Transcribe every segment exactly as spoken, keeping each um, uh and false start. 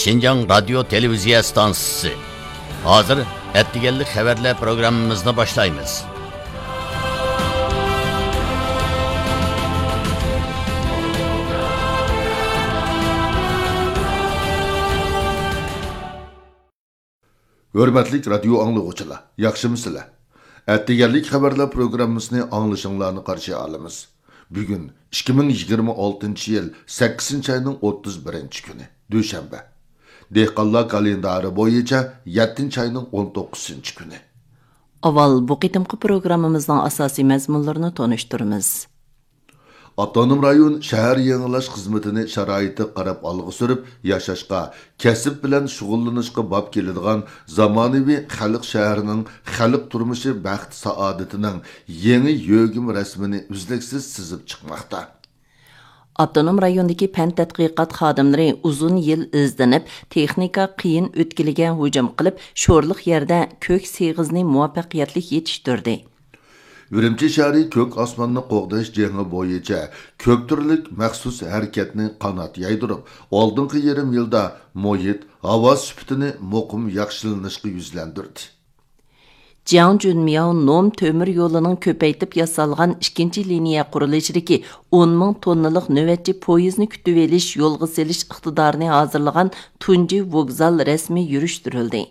شىنجاڭ رادىيو تېلېۋىزىيە ئىستانسىسى. ھازىر ئەتىگەنلىك خەۋەرلەر پروگراممىمىزنى باشلايمىز. ھۆرمەتلىك رادىيو ئاڭلىغۇچىلار، ياخشىمۇسىلەر؟ ئەتىگەنلىك خەۋەرلەر پروگراممىسىنى ئاڭلىشىڭلارنى قارشى ئالىمىز. بۈگۈن ئىككى مىڭ يىگىرمە ئالتىنچى يىل سەككىزىنچى ئاينىڭ ئوتتۇز بىرىنچى كۈنى، دۈشەنبە. دېھقانلار كالېندارى بويىچە يەتتىنچى ئاينىڭ ئون توققۇزىنچى كۈنى. ئاۋۋال بۇ قېتىمقى پروگراممىمىزنىڭ ئاساسىي مەزمۇنلىرىنى تونۇشتۇرىمىز. ئاپتونوم رايون شەھەر يېڭىلاش خىزمىتىنى شارائىتىغا قاراپ ئالغا سۈرۈپ، ياشاشقا، كەسىپ بىلەن شۇغۇللىنىشقا باب كېلىدىغان زامانىۋى خەلق شەھىرىنىڭ خەلق تۇرمۇشى بەخت-سائادىتىنىڭ يېڭى يۆگىمە رەسىمىنى ئۈزلۈكسىز سىزىپ چىقماقتا. ئاپتونوم رايوندىكى پەن تەتقىقات خادىملىرى ئۇزۇن يىل ئىزدىنىپ، تېخنىكا قىيىن ئۆتكىلىگە ھۇجۇم قىلىپ، شورلۇق يەردە كۆك سېغىزنى مۇۋەپپەقىيەتلىك يېتىشتۈردى. ئۈرۈمچى شەھىرى كۆك ئاسماننى قوغداش جېڭى بويىچە كۆپ تۈرلۈك مەخسۇس ھەرىكەتنى قانات يايدۇرۇپ، ئالدىنقى يېرىم يىلدا مۇھىت، ھاۋا سۈپىتىنى مۇقىم ياخشىلىنىشقا يۈزلەندۈردى. جياڭ جۈنمياۋ نوم تۆمۈر يولىنىڭ كۆپەيتىپ ياسالغان ئىككىنچى لىنىيە قۇرۇلۇشىدىكى ئون مىڭ توننىلىق نۆۋەتچى پويىزنى كۈتۈۋېلىش، يولغا سېلىش ئىقتىدارىنى ھازىرلىغان تۇنجى ۋوگزال رەسمىي يۈرۈشتۈرۈلدى.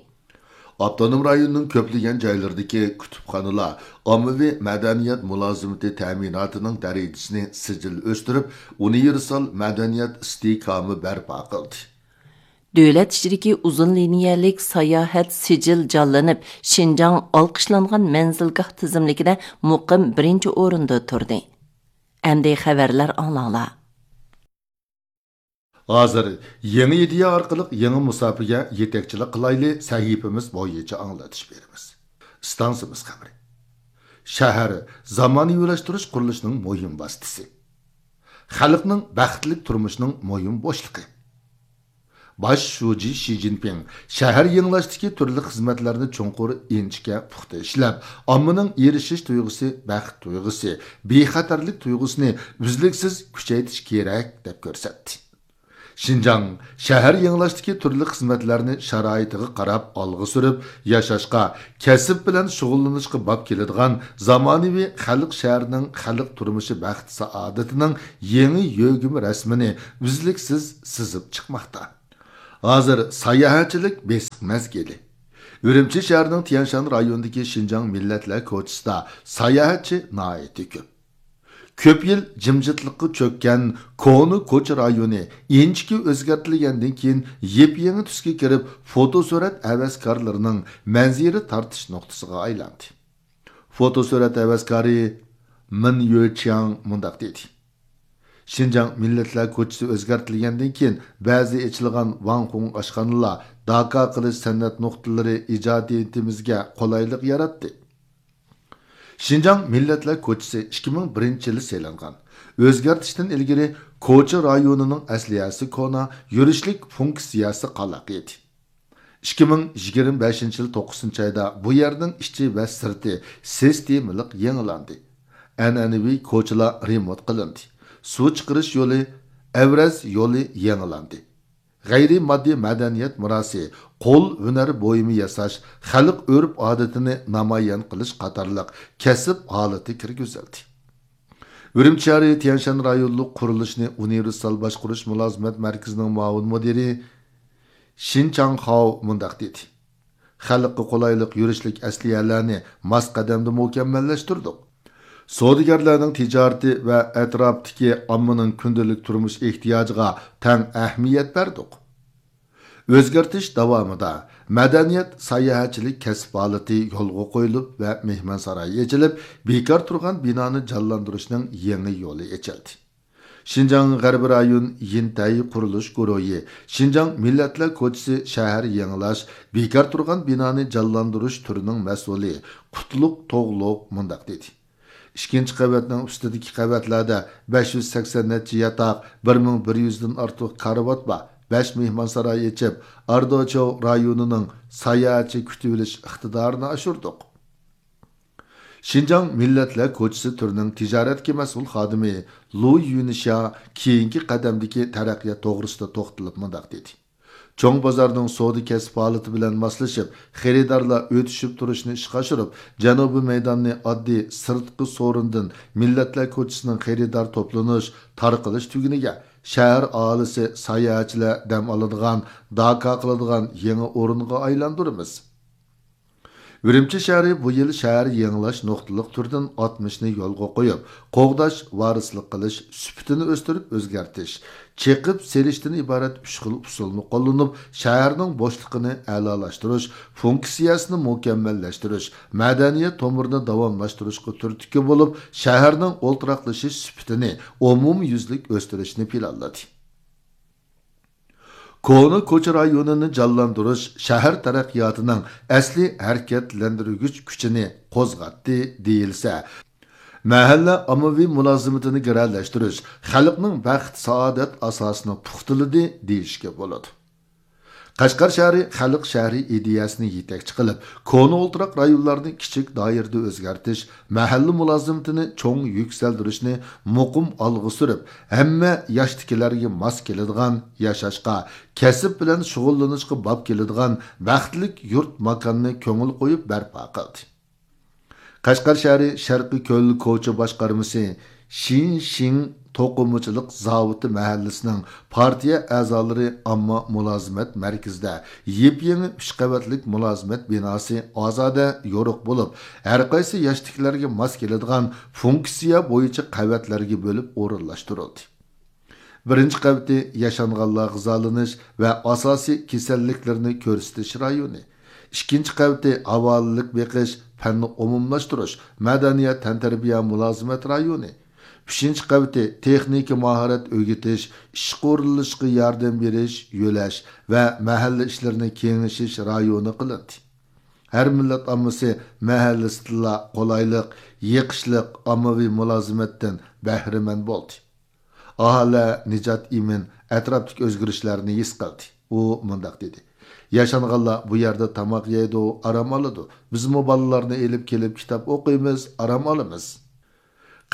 ئاپتونوم رايوننىڭ كۆپلىگەن جايلىرىدىكى كۇتۇپخانىلار ئاممىۋى مەدەنىيەت مۇلازىمىتى تەمىناتىنىڭ دەرىجىسىنى سىجىل ئۆستۈرۈپ، ئۇنىۋېرسال مەدەنىيەت ئىستېھكامى بەرپا قىلدى. دۆلەت ئىچىدىكى ئۇزۇن لىنىيەلىك ساياھەت سىجىل جانلىنىپ، شىنجاڭ ئالقىشلانغان مەنزىلگاھ تىزىملىكىدە مۇقىم بىرىنچى ئورۇندا تۇردى. ئەمدى خەۋەرلەر ئاڭلاڭلار. ھازىر يېڭى ئىدىيە ئارقىلىق يېڭى مۇساپىگە يېتەكچىلىك قىلايلى سەھىپىمىز بويىچە ئاڭلىتىش بېرىمىز. ئىستانسىمىز خەۋىرى. شەھەر زامانىۋىلاشتۇرۇش قۇرۇلۇشىنىڭ مۇھىم ۋاسىتىسى. خەلقنىڭ بەختلىك تۇرمۇشىنىڭ مۇھىم بوشلۇقى. باش شۇجى شى جىنپىڭ شەھەر يېڭىلاشتىكى تۈرلۈك خىزمەتلەرنى چوڭقۇر، ئىنچىكە، پۇختا ئىشلەپ، ئاممىنىڭ ئېرىشىش تۇيغۇسى، بەخت تۇيغۇسى، بىخەتەرلىك تۇيغۇسىنى ئۈزلۈكسىز كۈچەيتىش كېرەك، دەپ كۆرسەتتى. شىنجاڭ شەھەر يېڭىلاشتىكى تۈرلۈك خىزمەتلەرنى شارائىتىغا قاراپ ئالغا سۈرۈپ، ياشاشقا، كەسىپ بىلەن شۇغۇللىنىشقا باب كېلىدىغان زامانىۋى خەلق شەھىرىنىڭ خەلق تۇرمۇشى بەخت-سائادىتىنىڭ يېڭى يۆگىمە رەسىمىنى ئۈزلۈكسىز سىزىپ چىقماقتا. ھازىر ساياھەتچىلىك بېسىق مەزگىلى. ئۈرۈمچى شەھىرىنىڭ تيەنشان رايونىدىكى شىنجاڭ مىللەتلەر كوچىسىدا ساياھەتچى ناھايىتى كۆپ. كۆپ يىل جىمجىتلىققا چۆككەن كونا كوچا رايونى ئىنچىكە ئۆزگەرتىلگەندىن كېيىن، يېپيېڭى تۈسكە كىرىپ، فوتوسۈرەت ھەۋەسكارلىرىنىڭ مەنزىرە تارتىش نۇقتىسىغا ئايلاندى. فوتوسۈرەت ھەۋەسكارى مىن يۆچياڭ مۇنداق دېدى: شىنجاڭ مىللەتلەر كوچىسى ئۆزگەرتىلگەندىن كېيىن، بەزى ئېچىلغان ۋاڭخۇڭ ئاشخانىلار، داكا قىلىش سەنئەت نۇقتىلىرى ئىجادىيىتىمىزگە قولايلىق ياراتتى. شىنجاڭ مىللەتلەر كوچىسى ئىككى مىڭ بىرىنچى يىلى سېلىنغان. ئۆزگەرتىشتىن ئىلگىرى كوچا رايونىنىڭ ئەسلىھەسى كونا، يۈرۈشلۈك فۇنكسىيەسى قالاق ئىدى. ئىككى مىڭ يىگىرمە بەشىنچى يىل توققۇزىنچى ئايدا بۇ يەرنىڭ ئىچى ۋە سىرتى سىستېمىلىق يېڭىلاندى. ئەنئەنىۋى كوچىلار رېمونت قىلىندى. سۇ چىقىرىش يولى، ئەۋرەز يولى يېڭىلاندى. غەيرىي ماددىي مەدەنىيەت مىراسى، قول ھۈنەر بۇيۇمى ياساش، خەلق ئۆرپ-ئادىتىنى نامايان قىلىش قاتارلىق كەسىپ ھالىتى كىرگۈزۈلدى. ئۈرۈمچى شەھىرى تيەنشان رايونلۇق قۇرۇلۇشنى ئۇنىۋېرسال باشقۇرۇش مۇلازىمەت مەركىزىنىڭ مۇئاۋىن مۇدىرى شىن چاڭخاۋ مۇنداق دېدى: خەلققە قولايلىق يۈرۈشلۈك ئەسلىھەلەرنى ماس قەدەمدە مۇكەممەللەشتۈردۇق. سودىگەرلەرنىڭ تىجارىتى ۋە ئەتراپتىكى ئاممىنىڭ كۈندىلىك تۇرمۇش ئېھتىياجىغا تەڭ ئەھمىيەت بەردۇق. ئۆزگەرتىش داۋامىدا مەدەنىيەت، ساياھەتچىلىك كەسىپ ھالىتى يولغا قويۇلۇپ ۋە مېھمانساراي ئېچىلىپ، بىكار تۇرغان بىنانى جانلاندۇرۇشنىڭ يېڭى يولى ئېچىلدى. شىنجاڭ غەربىي رايون يىنتەي قۇرۇلۇش گۇرۇھى شىنجاڭ مىللەتلەر كوچىسى شەھەر يېڭىلاش، بىكار تۇرغان بىنانى جانلاندۇرۇش تۈرىنىڭ مەسئۇلى قۇتلۇق توغلۇق مۇنداق دېدى: ئىككىنچى قەۋەتنىڭ ئۈستىدىكى قەۋەتلەردە بەش يۈز سەكسەن نەچچە ياتاق، بىر مىڭ بىر يۈزدىن ئارتۇق كارىۋات بار. بەش مېھمانساراي ئېچىپ، ئاردوچياۋ رايونىنىڭ ساياھەتچى كۈتۈۋېلىش ئىقتىدارىنى ئاشۇردۇق. شىنجاڭ مىللەتلەر كوچىسى تۈرىنىڭ تىجارەتكە مەسئۇل خادىمى لۇ يۈنشيا كېيىنكى قەدەمدىكى تەرەققىيات توغرىسىدا توختىلىپ مۇنداق دېدى: چوڭ بازارنىڭ سودا كەسىپ ھالىتى بىلەن ماسلىشىپ، خېرىدارلار ئۆتۈشۈپ تۇرۇشنى ئىشقا ئاشۇرۇپ، جەنۇبىي مەيداننى ئاددىي سىرتقى سورۇندىن مىللەتلەر كوچىسىنىڭ خېرىدار توپلىنىش، تارقىلىش تۈگۈنىگە، شەھەر ئاھالىسى، ساياھەتچىلەر دەم ئالىدىغان، داكا قىلىدىغان يېڭى ئورۇنغا ئايلاندۇرىمىز. ئۈرۈمچى شەھىرى بۇ يىل شەھەر يېڭىلاش نۇقتىلىق تۈردىن ئاتمىشنى يولغا قويۇپ، قوغداش، ۋارىسلىق قىلىش، سۈپىتىنى ئۆستۈرۈپ ئۆزگەرتىش، چېقىپ سېلىشتىن ئىبارەت ئۈچ خىل ئۇسۇلنى قوللىنىپ، شەھەرنىڭ بوشلۇقىنى ئەلالاشتۇرۇش، فۇنكسىيەسىنى مۇكەممەللەشتۈرۈش، مەدەنىيەت تومۇرىنى داۋاملاشتۇرۇشقا تۈرتكە بولۇپ، شەھەرنىڭ ئولتۇراقلىشىش سۈپىتىنى ئومۇميۈزلۈك ئۆستۈرۈشنى پىلانلىدى. كونا كوچا رايونىنى جانلاندۇرۇش شەھەر تەرەققىياتىنىڭ ئەسلىي ھەرىكەتلەندۈرگۈچ كۈچىنى قوزغاتتى دېيىلسە، مەھەللە ئاممىۋى مۇلازىمىتىنى گىرەلەشتۈرۈش خەلقنىڭ بەخت-سائادەت ئاساسىنى پۇختىلىدى دېيىشكە بولىدۇ. قەشقەر شەھىرى خەلق شەھىرى ئىدىيەسىنى يېتەكچى قىلىپ، كونا ئولتۇراق رايونلارنى كىچىك دائىرىدە ئۆزگەرتىش، مەھەللە مۇلازىمىتىنى چوڭ يۈكسەلدۈرۈشنى مۇقىم ئالغا سۈرۈپ، ھەممە ياشتىكىلەرگە ماس كېلىدىغان، ياشاشقا، كەسىپ بىلەن شۇغۇللىنىشقا باب كېلىدىغان بەختلىك يۇرت ماكاننى كۆڭۈل قويۇپ بەرپا قىلدى. قەشقەر شەھىرى شەرقىي كۆل كوچا باشقارمىسى شىنشىڭ توقۇمىچىلىق زاۋۇتى مەھەللىسىنىڭ پارتىيە ئەزالىرى ئامما مۇلازىمەت مەركىزىدە يېپيېڭى ئۈچ قەۋەتلىك مۇلازىمەت بىناسى ئازادە يورۇق بولۇپ، ھەرقايسى ياشتىكىلەرگە ماس كېلىدىغان فۇنكسىيە بويىچە قەۋەتلەرگە بۆلۈپ ئورۇنلاشتۇرۇلدى. بىرىنچى قەۋىتى ياشانغانلار غىزالىنىش ۋە ئاساسىي كېسەللىكلىرىنى كۆرسىتىش رايونى. ئىككىنچى قەۋىتى ھاۋالىلىك بېقىش، پەننى ئومۇملاشتۇرۇش، مەدەنىيەت، تەنتەربىيە، مۇلازىمەت رايونى. ئۈچىنچى قەۋىتى تېخنىكا ماھارەت ئۆگىتىش، ئىشقا ئورۇنلىشىشقا ياردەم بېرىش، يۆلەش ۋە مەھەللە ئىشلىرىنى كېڭىشىش رايونى قىلىندى. ھەر مىللەت ئاممىسى مەھەللىسىدىلا قولايلىق، يېقىشلىق ئاممىۋى مۇلازىمەتتىن بەھرىمەن بولدى. ئاھالە نىجات ئىمىن ئەتراپتىكى ئۆزگىرىشلەرنى ھېس قىلدى. ئۇ مۇنداق دېدى: ياشانغانلار بۇ يەردە تاماق يەيدۇ، ئارام ئالىدۇ. بىزمۇ بالىلارنى ئېلىپ كېلىپ كىتاب ئوقۇيمىز، ئارام ئالىمىز.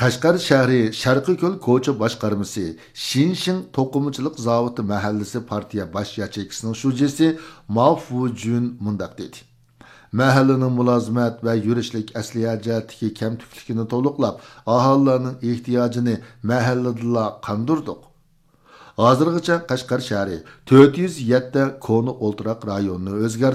قەشقەر شەھىرى شەرقىي كۆل كوچا باشقارمىسى شىنشىڭ توقۇمىچىلىق زاۋۇتى مەھەللىسى پارتىيە باش ياچېيكىسىنىڭ شۇجىسى ما فۇجۈن مۇنداق دېدى: مەھەللىنىڭ مۇلازىمەت ۋە يۈرۈشلۈك ئەسلىھە جەھەتتىكى كەمتۈكلۈكىنى تولۇقلاپ، ئاھالىلەرنىڭ ئېھتىياجىنى مەھەللىدىلا قاندۇردۇق. ھازىرغىچە قەشقەر شەھىرى تۆت يۈز يەتتە كونا ئولتۇراق رايونىنى ئۆزگەرتتى.